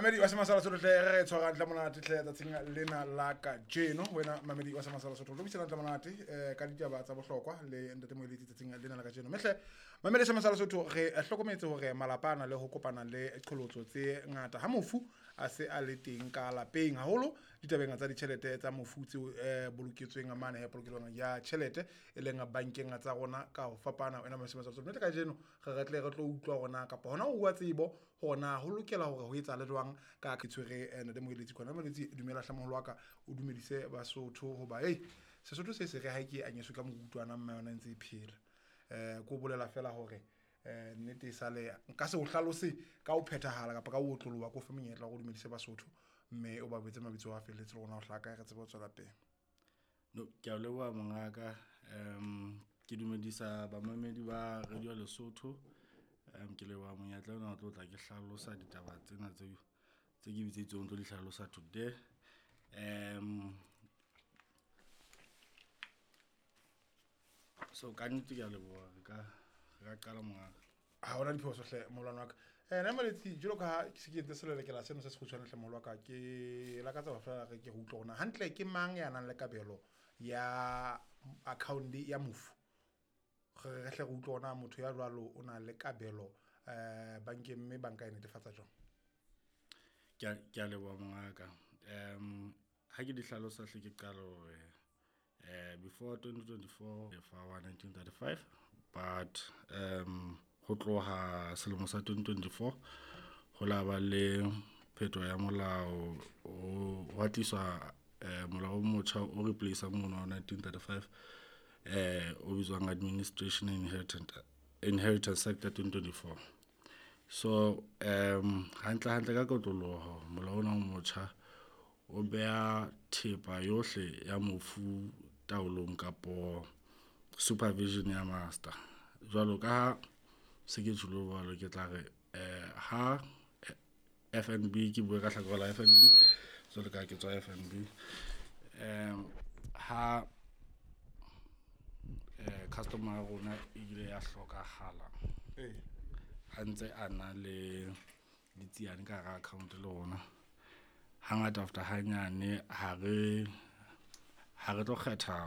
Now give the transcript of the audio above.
Mamedi wa Semasala Sotho hle, re tshwara hantle monate hle tsatsing lena la kajeno. Wena mamedi wa Semasala Sotho, re buisana hantle monate ka ditaba tsa bohlokwa le ntate Moeletsi tsatsing lena la kajeno. Mme hle mamedi wa Semasala Sotho, re hlokometse hore malapa a na le ho kopana le qholotso tse ngata ha mofu a se a le teng ka lapeng, haholo ditabeng tsa ditjhelete tsa mofu tseo boloketsweng mane he polokelong ya tjhelete e leng bankeng tsa rona ka ho fapana. Wena mamedi wa Semasala Sotho, nnete kajeno re tle re tlo utlwa hore kapa hona ho bua tsebo hore na ho lokela hore ho etsahale jwang ka ke tshwere ntate Moeletsi kwana. Moeletsi, dumela hle moholo wa ka, o dumedise Basotho hoba ei Sesotho se se re ha ke anyeswe ka morutwana mme yona e ntse e phela. Ko bolela fela hore nnete e sale nka se o hlalose ka ho phethahala kapa ka ho otloloha, ko fe monyetla hore o dumedise Basotho mme o ba betse mabitso a felletse le rona ho hlaka re tsebe ho tswela pele. No, ke a leboha mongaka. Ke dumedisa bamamedi ba Radio Lesotho. Ke leboha monyetla ona o tlo tla ke hlalosa ditaba tsena tse ke bitseditsweng tlo di hlalosa today. So ka nnete ke a leboha, re ka qala mongaka. Ha hona diphoso hle molwana wa ka. Nna Moeletsi, jwalo ka ha ke se ke entse selelekela seno se sekgutshwane hle moholo wa ka, ke lakatsa ho fela re ke go utlwa hore na hantle ke mang ya nang le kabelo ya account ya mofu. Re hle re utlwe hore na motho ya jwalo o na le kabelo bankeng mme banka e netefatsa jwang. Ke a leboha mongaka. Ha ke di hlalosa hle ke qala hore before 2024 fa wa 1935, but ho tloha selemo sa 2024 ho la ba le phetoho ya molao, ho tliswa molao o motjha o replace mono wa 1935 o bitswang Administration and Inheritance Act ya 2024. So hantle hantle ka kotloloho molao ona o motjha o beha thepa yohle ya mofu taolong kapo supervision ya master. Jwalo ka ha se ke tjholo jwalo, ke tla re ha FNB, ke bue ka hlakore la FNB jwalo ka ke tswa FNB, ha customer ya rona e ile ya hlokahala a ntse a na le ditsiane ka hara account le rona, hangata after hanyane ha re tlo kgetha